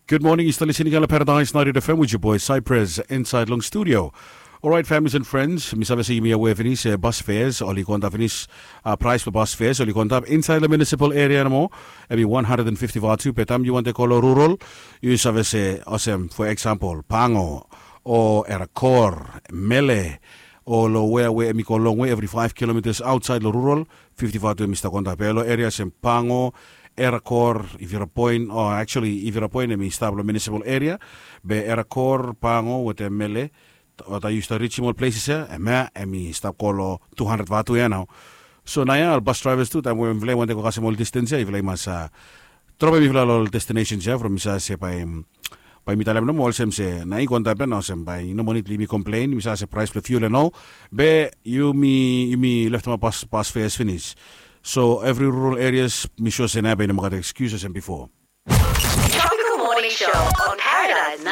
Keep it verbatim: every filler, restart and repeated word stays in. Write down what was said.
Gud moning, yu stap listening long Paradise ninety-eight F M with your boy Cypress inside long studio. Alright, families and friends, mi save se yumi aware finis, eh, bus fares oli go antap finis. Uh, price for bus fares oli go antap inside the municipal area nomo. Emi one hundred and fifty vatu, be taem yu wantem go long rural, yu save se olsem, for example, Pango o Erakor, Mele, o long wea we emi go longwe, every five kilometers outside long rural, fifty vatu emi stap go antap. Be long area olsem Pango, Erakor, Ivirapoin, o actually Ivirapoin emi stap long municipal area, be Erakor, Pango wetem Mele, wata yu stap rijim ol places ya, em ya emi stap go long two hundred vatu ya nao. So naoia ol bus drivers tu, taem we mifala i wantem go kasem ol distance ya, mifala i mas, uh, dropem mifala long ol destinations ya from mi save se bae, bae mi talem nomo olsem se nao i go antap ya nao, olsem bae i no moa nid blong yumi complain. Mi save se price blong fuel ya nao, be yumi, yumi leftemap bus, bus fares finis. So every rural areas, mi sua se naoia bae i no moa gat excuse olsem bifo. Tropical Morning Show on Paradise